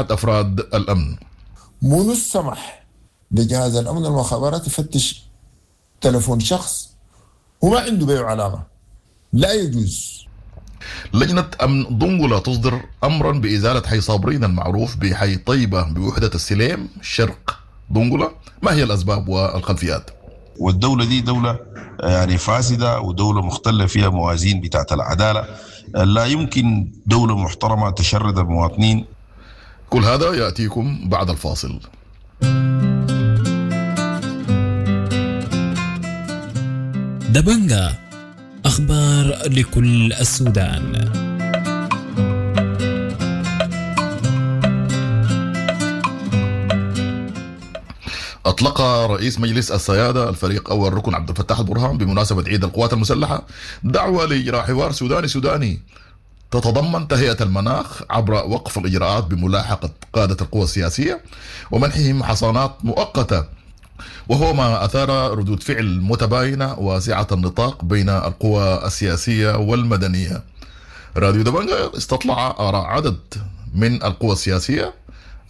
أفراد الأمن. منو السمح لجهاز الأمن والمخابرات يفتش تلفون شخص وما عنده بيه علاقة؟ لا يجوز. لجنة أمن دنقلة تصدر أمرا بإزالة حي صابرين المعروف بحي طيبة بوحدة السليم شرق دنقلة. ما هي الأسباب والخلفيات؟ والدولة دي دولة يعني فاسدة ودولة مختلة فيها موازين بتاعت العدالة، لا يمكن دولة محترمة تشرد المواطنين. كل هذا يأتيكم بعد الفاصل. دبنجا، أخبار لكل السودان. أطلق رئيس مجلس السيادة الفريق أول ركن عبد الفتاح البرهان بمناسبة عيد القوات المسلحة دعوة لإجراء حوار سوداني سوداني تتضمن تهيئة المناخ عبر وقف الإجراءات بملاحقة قادة القوى السياسية ومنحهم حصانات مؤقتة، وهو ما أثار ردود فعل متباينة واسعة النطاق بين القوى السياسية والمدنية. راديو دبنجا استطلع آراء عدد من القوى السياسية: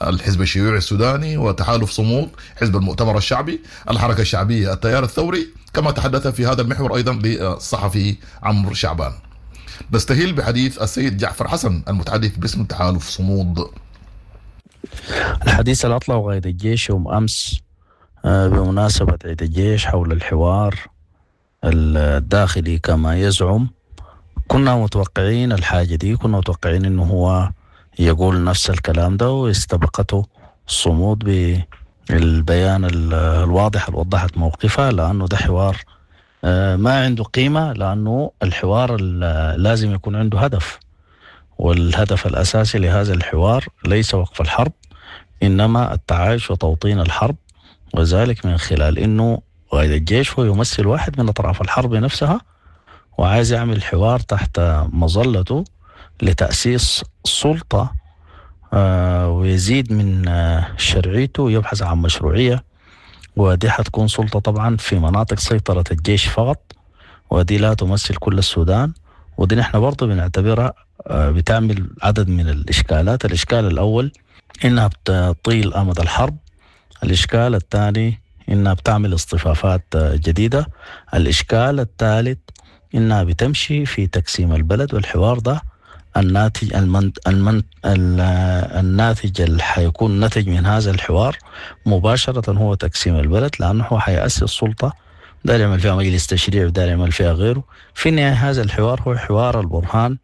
الحزب الشيوعي السوداني وتحالف صمود، حزب المؤتمر الشعبي، الحركة الشعبية، التيار الثوري، كما تحدث في هذا المحور أيضا للصحفي عمرو شعبان. نستهل بحديث السيد جعفر حسن المتحدث باسم تحالف صمود. الحديث اللي أطلعه قائد الجيش يوم أمس بمناسبة عيد الجيش حول الحوار الداخلي كما يزعم، كنا متوقعين الحاجة دي، كنا متوقعين إنه هو يقول نفس الكلام ده، واستبقته الصمود بالبيان الواضح اللي وضحت موقفها، لأنه ده حوار ما عنده قيمة، لأنه الحوار لازم يكون عنده هدف، والهدف الأساسي لهذا الحوار ليس وقف الحرب، إنما التعايش وتوطين الحرب، وذلك من خلال إنه قائد الجيش هو يمثل واحد من أطراف الحرب نفسها، وعايز يعمل حوار تحت مظلته لتأسيس سلطة ويزيد من شرعيته ويبحث عن مشروعية، ودي حتكون سلطة طبعا في مناطق سيطرة الجيش فقط، ودي لا تمثل كل السودان، ودي نحن برضو بنعتبرها بتعمل عدد من الإشكالات. الإشكال الأول إنها بتطيل أمد الحرب، الإشكال الثاني إنها بتعمل اصطفافات جديدة، الإشكال الثالث إنها بتمشي في تقسيم البلد، والحوار ده الناتج الناتج اللي حيكون نتج من هذا الحوار مباشرة هو تقسيم البلد، لأنه هو حيأسس سلطة داير يعمل فيها مجلس تشريع وداير يعمل فيها غيره. في النهاية هذا الحوار هو حوار البرهان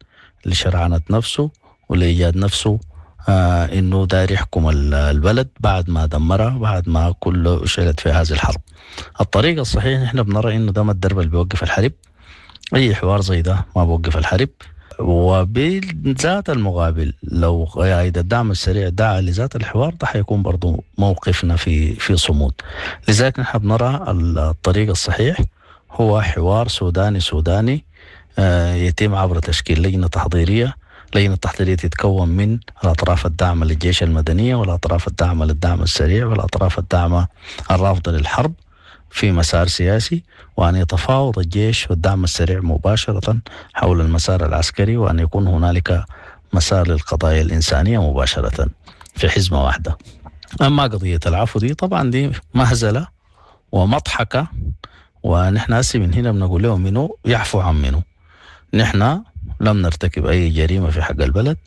لشرعنة نفسه ولإيجاد نفسه إنه داير يحكم البلد بعد ما دمرها، بعد ما كله شعلت في هذه الحرب. الطريقة الصحيحة نحن بنرى إنه ده ما الدرب اللي بيوقف الحرب، أي حوار زي ده ما بوقف الحرب. وبذات المقابل لو قائد الدعم السريع دعا لذات الحوار ده حيكون برضو موقفنا في صمود. لذلك نحن بنرى الطريق الصحيح هو حوار سوداني سوداني يتم عبر تشكيل لجنة تحضيرية. لجنة التحضيرية تتكون من الأطراف الداعمة للجيش المدنية والأطراف الداعمة للدعم السريع والأطراف الداعمة الرافضة للحرب في مسار سياسي، وأن يتفاوض الجيش والدعم السريع مباشرة حول المسار العسكري، وأن يكون هنالك مسار للقضايا الإنسانية مباشرة في حزمة واحدة. أما قضية العفو دي طبعا دي مهزلة ومضحكة، ونحن هسي من هنا بنقول لهم منو يعفو عن منو. نحن لم نرتكب أي جريمة في حق البلد،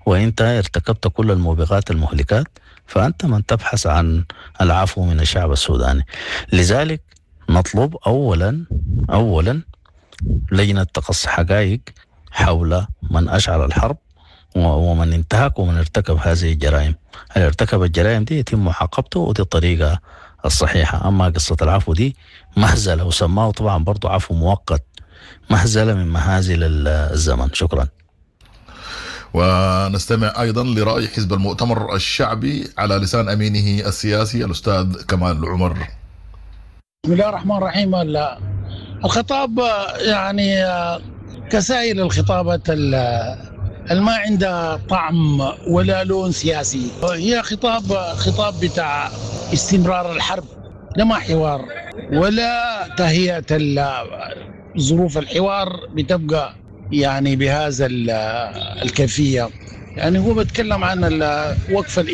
وإنت ارتكبت كل الموبقات المهلكات، فأنت من تبحث عن العفو من الشعب السوداني. لذلك نطلب أولا لجنة تقصي حقائق حول من أشعل الحرب ومن انتهك ومن ارتكب هذه الجرائم. اللي ارتكب الجرائم دي يتم معاقبته، ودي الطريقة الصحيحة. أما قصة العفو دي مهزلة، وسماه طبعا برضو عفو مؤقت، مهزلة من مهازل الزمن. شكرا. ونستمع أيضا لرأي حزب المؤتمر الشعبي على لسان أمينه السياسي الأستاذ كمال عمر. بسم الله الرحمن الرحيم. الخطاب يعني كسائر الخطابات ما عندها طعم ولا لون سياسي، هي خطاب بتاع استمرار الحرب، لا ما حوار ولا تهيئة ظروف الحوار بتبقى يعني بهذا الكيفية. يعني هو بيتكلم عن وقف الإجراءات.